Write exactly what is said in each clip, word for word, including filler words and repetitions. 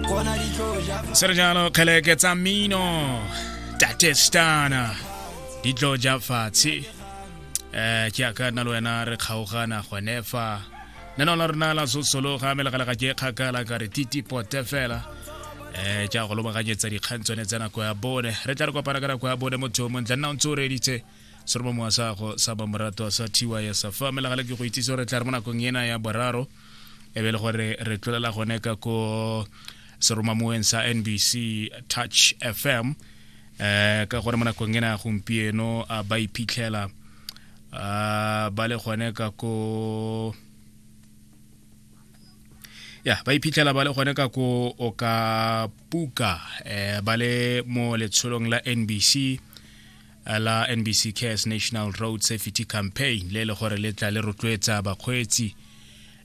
Se re jalo kgeleke tsa mmino Tate Stana di tlo ja fatshe. um ke aka nna le wena re kgaogana gone fa nano la rona la sosologa melegalega ke kgakala ka re titi pote fela. um ke a go lobaganyetsa dikgang tsone tsa nako ya bone. Re tla re kopana ka nako ya bone motho o montle nna o ntse o reditse seromamowa sa go sa bamorato sa T Y S fa melegale ke go itsise gore tla re mo nakong ena ya boraro e be le gore re tlolela gone ka ko seromamoweng sa N B C Touch F M, eh ka gore mo nakong ena ya gompieno a ba iphitlhela a ba le gone ka ko ya ba iphitlhela ba le gone ka ko o ka puka, eh ba le mo letsholong la N B C eh, la N B C Cares National Road Safety Campaign le le gore le tla le rotloetsa bakgweetsi,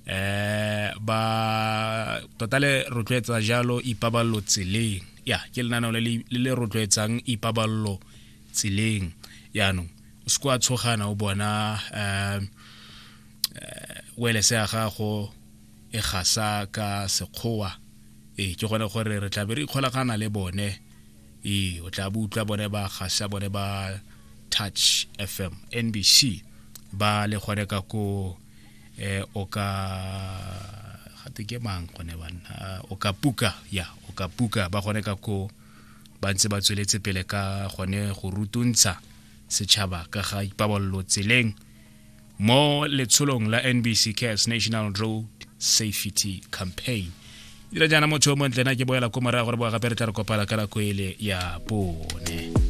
eh ba tota le rotloetsa jalo ipaballo tseleng. Ya ke lenaneo le le le rotloetsang ipaballo tseleng. Yaanong o se kwa tshogana o bona um welese ya gago e gasa ka sekgowa. Ee, ke gone gore re tla be re ikgolagana le bone. Ee, o tla bo utlwa bone ba gasa, bone ba Touch F M N B C ba le gone ka ko eh o ka gate ke mang gone banna, o ka puka, ya o ka puka, ba gone ka ko ba ntse ba tsweletse pele ka gone go rutuntsha setšhaba ka ga ipaballo tseleng mo letsholong la N B C Cares National Road Safety Campaign. Dira jaana motho o montle na ke boela ko morago gore boa gape re tla re kopana ka nako ele ya bone.